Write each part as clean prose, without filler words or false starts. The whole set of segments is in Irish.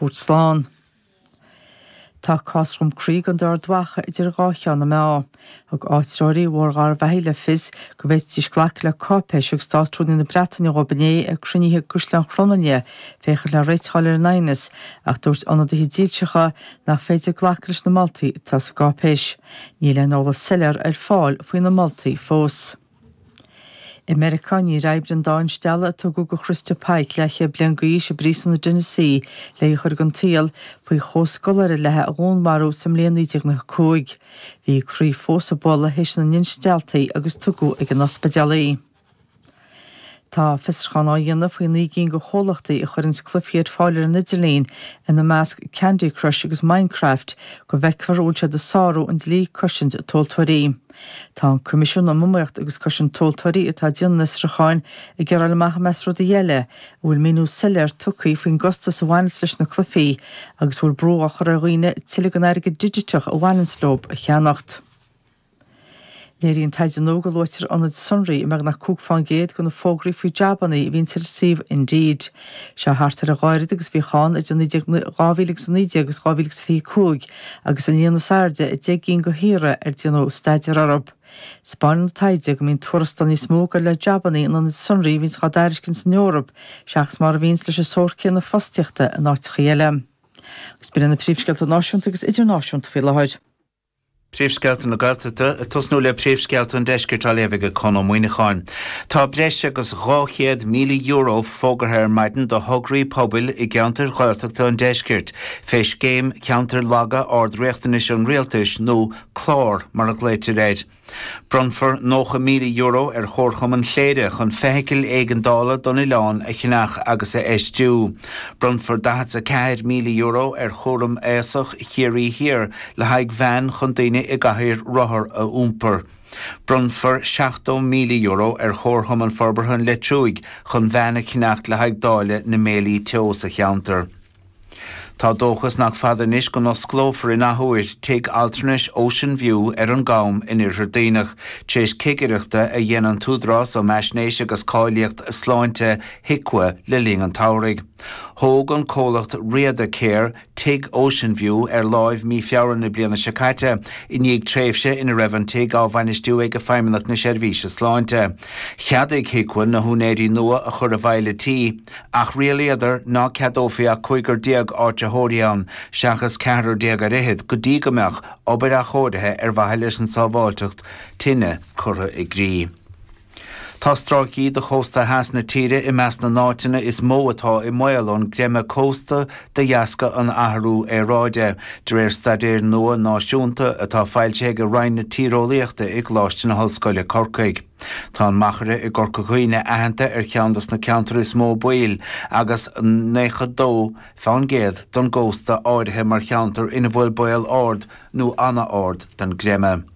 Thabhairt slán. Tá cás Dhroim Crí i gContae Ard Mhacha idir dhá cheann na meá. Thug áitritheoirí Bhóthar Gharbhachaidh le fios go bhféadfaidís glacadh le cáipéis a thug Státrúnaí na Breataine dhóibh inné ag cruinnithe i gCaisleán Chromghlinne féachaint le réiteach a fháil ar an aighneas ach dúirt ionadaithe dílseacha nach féidir glacadh leis na moltaí atá sa gcáipéis. Níl aon eolas soiléir ar fáil faoi na moltaí fós. I Meiriceá, níor oibrigh an dá instealladh a tugadh do Christa Pike, leathchéad bliain d'aois, i bpríosún i dTennessee le í a chur den tsaol faoi chomhscoláire léi a dhúnmharú sa mbliain 1995. Bhí a croí fós ag bualadh théis na n-instealltaí agus tugadh ag an ospidéal í. Tá fiosrúchán á dhéanamh faoi 9 gcinn de chomhlachtaí a chuireanns cluichí ar fáil ar an idirlíon, ina measc Candy Crush agus Minecraft, go bhfeicfear an bhfuil siad ag sárú an dlí cosaint tomhaltóirí. Tá an Coimisiún um Iomaíocht agus Cosaint Tomhaltóirí atá ag déanamh an fhiosrúcháin ag iarraidh a fháil amach i measc rudaí eile, an bhfuil míniú soiléir tugtha faoin gcostas a bhaineanns leis na cluichí agus an bhfuil brú á chur ar dhaoine tuilleadh den airgead digiteach a bhaineanns leo a cheannacht. Léiríonn taighde nua go luaitear ionaid sonraí i mbeagnach 5 fán gcéad de na fógraí faoi jabanna a bhíonns ar an suíomh Indeed. Seo thart ar a dhá oiread agus a bhíodh ann idir 2019 agus 2025 agus an líon is airde i 10 gcinn de thíortha ar déanadh staidéar orthu. Spáineann an taighde go mbíonn tuarastail níos mó ag dul le jabanna in ionaid sonraí a bhíonns á dtairiscint san Eoraip seachas mar a bhíonns leis an sórt céanna fostaíochta in áiteachaí eile. Agus b'in iad na príomhscéalta náisiúnta agus idirnáisiúnta faoi láthair. Príomhscéalta na Gaeltachta, ag tosnú le príomhscéalta an Deiscirt á léamh ag Conn Ó Muíneacháin. Tá breis agus €200,000 fógartha ar maidin do thograí pobail i gceantair Ghaeltachta an Deiscirt fé Scéim Ceantair Laga Ard-Riachtanais an Rialtais nó 'Clár' mar a ghlaoitear air. Bronnfar €90,000 ar Chomharchumann Chléire chun feithicil éigeandála don oileán a cheannach agus a fheistiú. Bronnfar €44,000 ar Chúram Aosach Chiarraí Thiar le haghaidh veain chun daoine i gcathaoir rothar a iompar. Bronnfar €70,000 ar Chomharchumann Forbartha an Leitriúigh chun veain a cheannacht le haghaidh dáileadh na mbéilí teo sa cheantar. Tá dóchas nach fada anois go n-osclófar in athuair tigh altranais Ocean View ar an gCam in Iarthar Duibhneach, tar éis cigireachta a dhein an tÚdarás um Fhaisnéis agus Cáilíocht Sláinte, HIQA, le linn an tsamhraidh. Thóg an comhlacht Riada Care Tigh Ocean View ar láimh mí Feabhra na bliana seo caite, i ndiaidh tréimhse ina raibh an tigh á bhainistiú ag Feidhmeannacht na Seirbhíse Sláinte. Cheadaigh HIQA na húinéirí nua a chur abhaile tí, ach rialaíodar ná ceadófaí ach cúigear déag áitritheoirí ann, seachas ceathrar déag ar fhichead, go dtí go mbeadh obair athchóirithe ar mhaithe leis an tsábháilteacht tine curtha i gcrích. Tá stráicí de chósta theas na tíre i measc na n-áiteanna is mó atá i mbaol ón gcreimeadh cósta de dheasca an athrú aeráide, de réir staidéir nua náisiúnta atá foilsithe ag Roinn na Tíreolaíochta i gColáiste na hOllscoile, Corcaigh. Tá an Machaire i gCorca Dhuibhne aitheanta ar cheann dos na ceantair is mó baoil agus 92 fán gcéad don gcósta áirithe mar cheantar ina bhfuil baol ard nó ana-ard don gcreimeadh.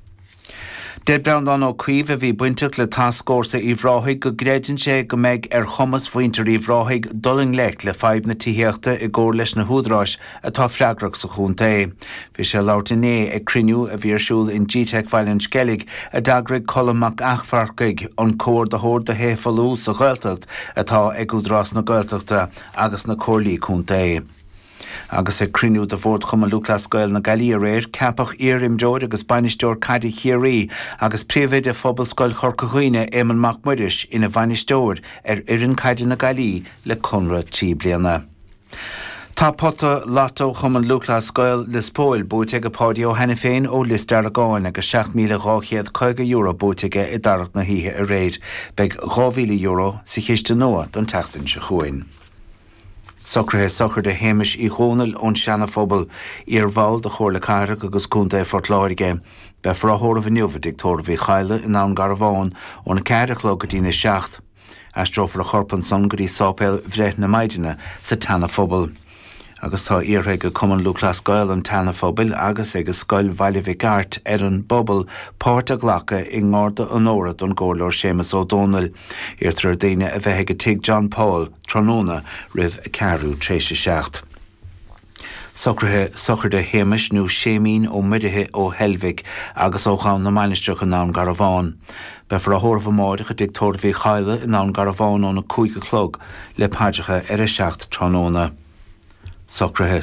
Deir Breandán Ó Caoimh, a bhí bainteach le Tascfhórsa Uíbh Ráthaigh, go gcreideann sé go mbeidh ar chumas mhuintir Uíbh Ráthaigh dul i ngleic le fadhb na tithíochta i gcomhar leis na húdaráis atá freagrach sa chontae. Bhí sé ag labhairt inné ag cruinniú a bhí ar siúl in Gteic Bhaile an Sceilg a d'eagraigh Colm Mac Eachmharcaigh, an Comhordaitheoir do Thithe Folmha sa Ghaeltacht atá ag Údarás na Gaeltachta agus na Comhairlí Contae. Agus ag cruinniú de Bhord Chumann Lúthchleas Gael na Gaillimhe aréir, ceapadh iar-imreoir agus bainisteoir caide Chiarraí agus príomhoide Phobalscoil Chorca Dhuibhne, Éamonn Mac Muiris, ina bhainisteoir ar fhoireann caide na Gaillimhe le conradh 3 bliana. Tá pota Lotto Chumann Lúthchleas Gael Lios Póil buaite ag Páidí Ó hAiniféin ó Lios Deargáin agus €7,250 buaite aige i dtarrac na hoíche aréir. Beidh €2,000 sa chiste nua don tseachtain seo chugainn. Socruithe sochraide Shéamais Uí Dhónaill ón Seana Phobal, iar-bhall de Chomhairle Cathrach agus Contae Phort Láirge. Beifear á thórramh inniu i dTigh Tórraimh Uí Chadhla i nDún Garbhán óna 4 a chlog go dtína 7. Aistreofar a chorp ansan go dtí Sáipéal Bhreith na Maighdine sa tSeana Phobal. Agus tá iarrtha ag Cumann Lúthchleas Gael an tSeana Phobail agus ag Scoil Bhaile Mhic Airt ar an bpobal páirt a ghlacadh i nGarda Onóra don gComhairleoir Séamus Ó Dónaill. Iarrtar ar daoine a bheith ag Tigh John Paul tráthnóna roimh a ceathrú tréis a 7. Socruithe sochraide Shéamais nó Séimín Ó Muirithe ó Heilbhic agus ó Ghabhann na Mainistreach i nDún Garbhán. Beifear á thórramh amáireach i dTigh Tórraimh Uí Chadhla i nDún Garbhán óna 5 a chlog le paidreacha ar a 7 tráthnóna. Socruithe.